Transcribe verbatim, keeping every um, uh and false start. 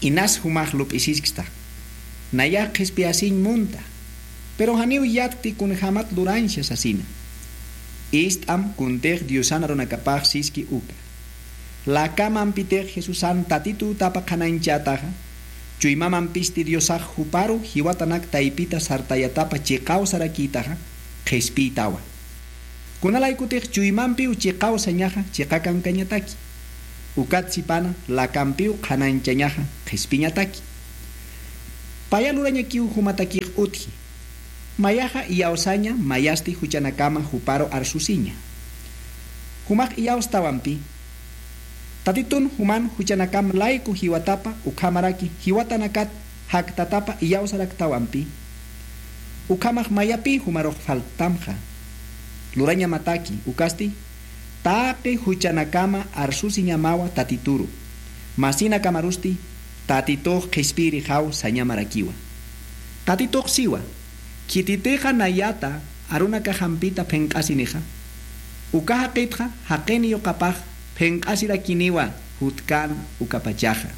Inas jumax lup'isisksta. Nayax qhispiyasiñ munta. Pero janiw yatkti kunjämat lurañsa sasina. Ist'am kuntix Diosan arunakapax siski uka. Lakamampitix Jesusan Tatitutapa qhanañchätaxa, chuymamampisti Diosax juparu jiwatanak taypita sartayatapa chiqaw sarakïtaxa, qhispiytawa. Kunalaykutix chuymampiw chiqaw sañaxa chiqakankañataki. Ukat sipana lakampiw qhanañchañaxa qhispiñataki. Paya lurañakiw jumatakix utji. Mayaxa iyawsaña mayasti juchanakama juparu arsusiña. Jumax iyawstawampi. Tatitun juman juchanakam layku jiwatapa ukhamaraki jiwatanakat jaktatapa iyawsaraktawampi. Ukhamax mayapï jumarux falttamxa. Lurañamataki ukasti taqi juchanakama arsusiñamawa Tatituru. Masinakamarusti Tatitux qhispiyirixaw sañamarakiwa. Tatitux siwa, khititixa nayata arunakaxampita phinq'asinixa. Uka jaqitxa jaqin yuqapax phinq'asirakiniwa jutkan ukapachaxa.